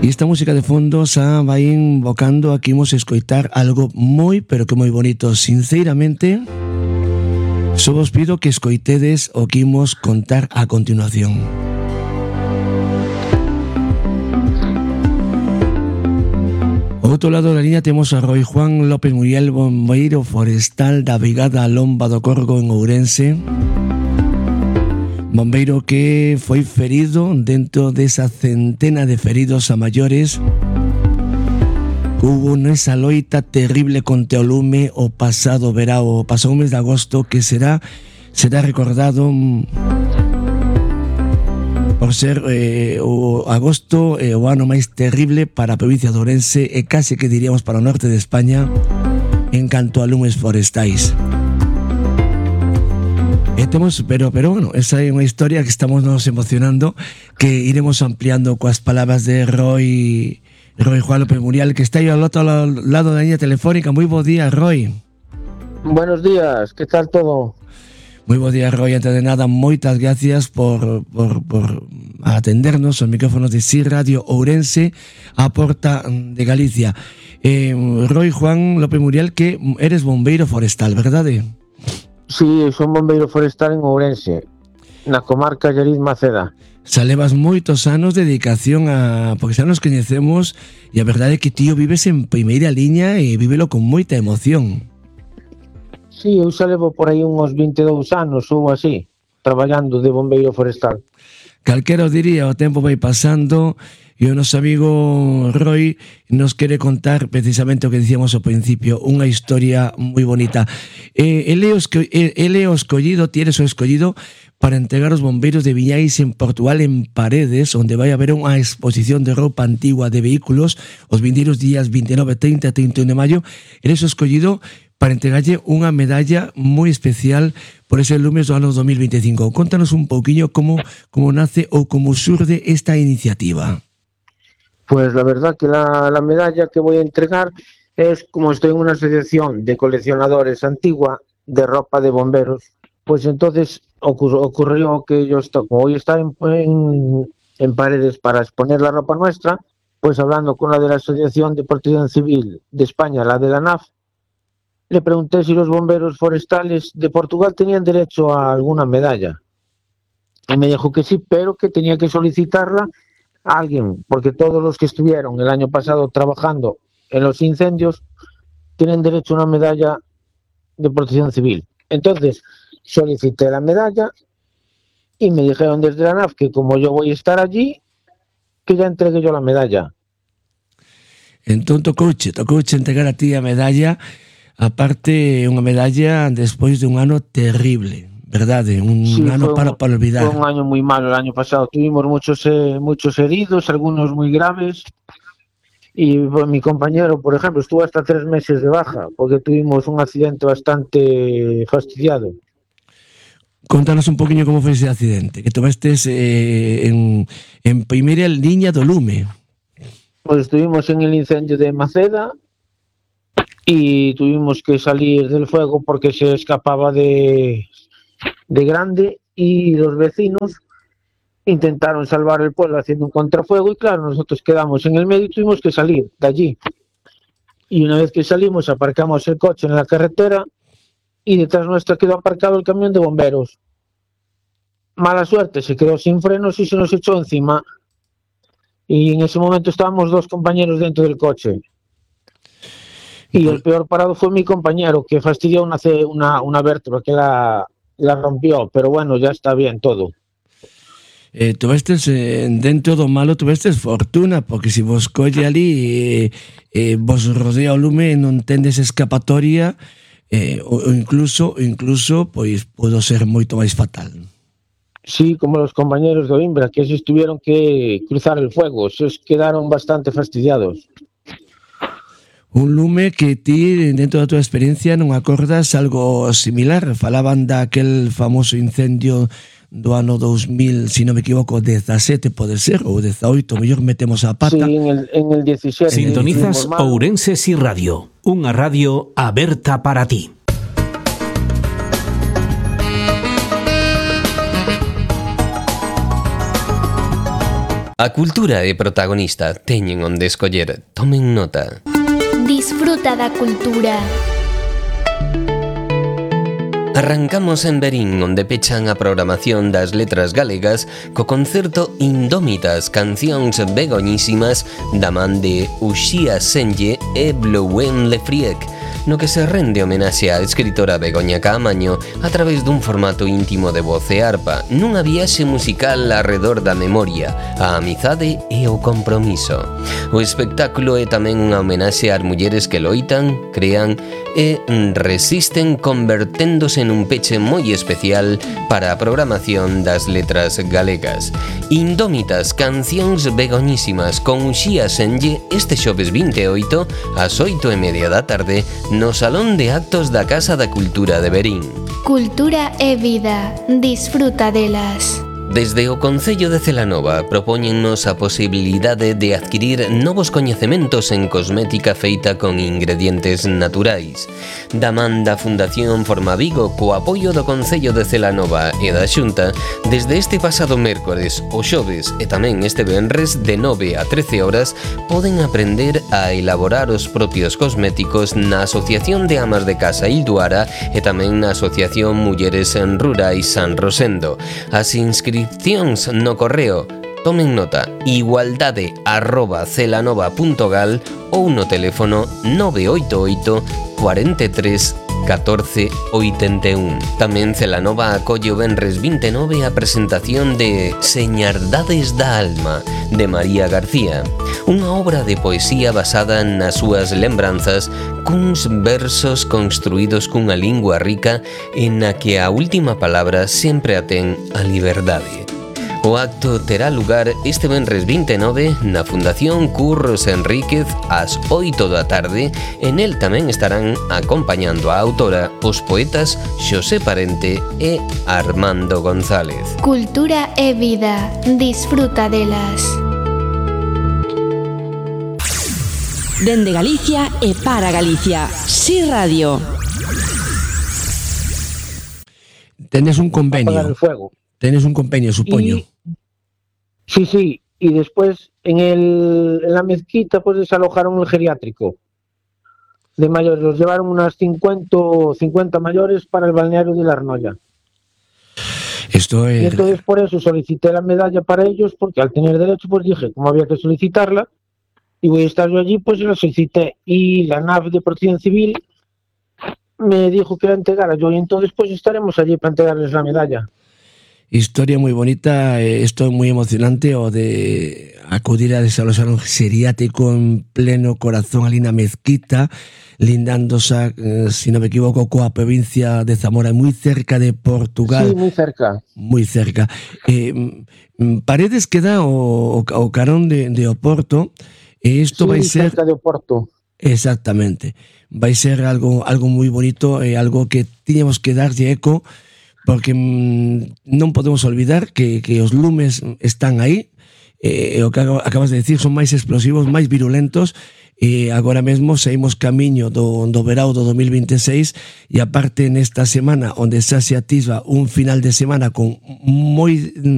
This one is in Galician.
E esta música de fondo xa vai invocando a que imos escoitar algo moi, pero que moi bonito. Sinceramente, só vos pido que escoitedes o que imos contar a continuación. Ao outro lado da liña temos a Roi Juan López Muriel, bombeiro forestal da Brigada Lomba do Corgo en Ourense. Bombeiro que foi ferido dentro desa centena de feridos a maiores que hubo nesa loita terrible contra o lume o pasado verao, o pasado mes de agosto, que será recordado por ser o agosto o ano máis terrible para a provincia de Ourense e case que diríamos para o norte de España en canto a lumes forestais. Pero bueno, esa é unha historia que estamos nos emocionando, que iremos ampliando coas palabras de Roi Juan López Muriel, que está aí ao outro lado da liña telefónica. Moi bo día, Roi. Buenos días, que tal todo? Moi bo día, Roi. Antes de nada, moitas gracias por atendernos aos micrófonos de SIR Radio Ourense, a porta de Galicia. Roi Juan López Muriel, que eres bombeiro forestal, verdade? Sí, son bombeiro forestal en Ourense, na comarca Lleriz Maceda. Xa levas moitos anos de dedicación porque xa nos coñecemos, e a verdade é que tío vives en primeira liña e vívelo con moita emoción. Sí, eu xa levo por aí uns 22 anos ou así, traballando de bombeiro forestal. Calquera o diría, o tempo vai pasando e o noso amigo Roi nos quere contar precisamente o que dicíamos ao principio, unha historia moi bonita. Ele o escollido, tienes o escollido para entregar os bombeiros de Viñais en Portugal, en Paredes, onde vai haber unha exposición de roupa antigua de vehículos os vindeiros días 29, 30 e 31 de maio. Eres o escollido para entregarlle unha medalla moi especial por ese lumes do ano 2025. Contanos un pouquiño como nace ou como surde esta iniciativa. Pues la verdad que la medalla que voy a entregar es, como estoy en una asociación de coleccionadores antigua de ropa de bomberos, pues entonces ocurrió que yo hoy estar en Paredes para exponer la ropa nuestra, pues hablando con la de la Asociación de Protección Civil de España, la de la ANAF, le pregunté si los bomberos forestales de Portugal tenían derecho a alguna medalla. Y me dijo que sí, pero que tenía que solicitarla a alguien, porque todos los que estuvieron el año pasado trabajando en los incendios tienen derecho a una medalla de protección civil. Entonces solicité la medalla y me dijeron desde la ANAF que como yo voy a estar allí, que ya entregué yo la medalla. Entón tocouche entregar a ti a medalla, aparte unha medalla despois de un ano terrible, verdade? Sí, ano para olvidar. Fue un año muy malo el año pasado. Tuvimos muchos heridos, algunos muy graves. Y mi compañero, por ejemplo, estuvo hasta 3 meses de baja porque tuvimos un accidente bastante fastidiado. Contanos un poquinho como foi ese accidente, que tomastes en primeira liña do lume. Pues estuvimos en el incendio de Maceda y tuvimos que salir del fuego porque se escapaba de grande, y los vecinos intentaron salvar el pueblo haciendo un contrafuego, y claro, nosotros quedamos en el medio y tuvimos que salir de allí. Y una vez que salimos, aparcamos el coche en la carretera y detrás nuestra quedó aparcado el camión de bomberos. Mala suerte, se quedó sin frenos y se nos echó encima. Y en ese momento estábamos 2 compañeros dentro del coche. Y el peor parado fue mi compañero, que fastidió una vértebra, que la rompió, pero bueno, ya está bien todo. Tuvestes dentro do malo, tuvestes fortuna, porque se vos colle ali vos rodea o lume e non tendes escapatoria, ou incluso pois podo ser moito máis fatal. Sí, como los compañeros de Oimbra, que esos tuvieron que cruzar el fuego, esos quedaron bastante fastidiados. Un lume que ti, dentro da tua experiencia, non acordas algo similar. Falaban daquel famoso incendio do ano 2000, si non me equivoco, 17 pode ser, ou 18, mellor metemos a pata. Sí, en el 17. Sintonizas Ourense SIR Radio, unha radio aberta para ti. A cultura é protagonista, teñen onde escoller, tomen nota. Disfruta da cultura. Arrancamos en Verín, onde pechan a programación das letras galegas co concerto Indómitas, cancións begoñísimas da man de Uxía Senlle e Blouen Lefriec, no que se rende homenaxe á escritora Begoña Caamaño a través dun formato íntimo de voz e arpa, nunha viaxe musical arredor da memoria, a amizade e o compromiso. O espectáculo é tamén unha homenaxe ás mulleres que loitan, crean e resisten, converténdose nun peche moi especial para a programación das letras galegas. Indómitas, cancións begoñísimas con Uxía Senlle este xoves 28 ás 8:30 da tarde no Salón de Actos da Casa da Cultura de Verín. Cultura é vida, disfruta delas. Desde o Concello de Celanova propóñennos a posibilidade de adquirir novos coñecementos en cosmética feita con ingredientes naturais. Da man da Fundación Formavigo, co apoio do Concello de Celanova e da Xunta, desde este pasado mércores, o xoves e tamén este venres de 9 a 13 horas poden aprender a elaborar os propios cosméticos na Asociación de Amas de Casa Ilduara e tamén na Asociación Mulleres en Rurais San Rosendo. As inscripcións no correo, tomen nota, igualdade@celanova.gal ou no teléfono 988 43 14 81. Tamén Celanova acolle o venres 29 a presentación de Señardades da Alma, de María García, unha obra de poesía basada nas súas lembranzas cuns versos construídos cunha lingua rica en na que a última palabra sempre a ten a liberdade. O acto terá lugar este venres 29 na Fundación Curros Enríquez ás 8 da tarde e nel tamén estarán acompañando a autora os poetas Xosé Parente e Armando González. Cultura é vida, disfruta delas. Dende Galicia e para Galicia, Si Radio. Tenes un convenio. Apagar el fuego. Tenes un convenio, supoño. Sí, y después en la mezquita pues desalojaron el geriátrico de mayores, los llevaron unas 50 mayores para el balneario de la Arnoya. Esto es... Y entonces por eso solicité la medalla para ellos, porque al tener derecho pues dije, como había que solicitarla, y voy a estar yo allí, pues la solicité, y la NAF de Protección Civil me dijo que la entregara yo, y entonces pues estaremos allí para entregarles la medalla. Historia moi bonita, isto é moi emocionante, o de acudir a desalojar un geriátrico en pleno corazón ali na mezquita, lindándose, si non me equivoco, coa provincia de Zamora, moi cerca de Portugal. Sí, moi cerca. Moi cerca. Paredes queda o carón de Oporto, e isto vai ser... cerca de Oporto. Exactamente. Vai ser algo moi bonito, algo que tiñamos que darlle eco, porque non podemos olvidar que os lumes están aí, o que acabas de decir, son máis explosivos, máis virulentos, e agora mesmo saímos camiño do verao do 2026, e aparte nesta semana onde xa se atisba un final de semana con moi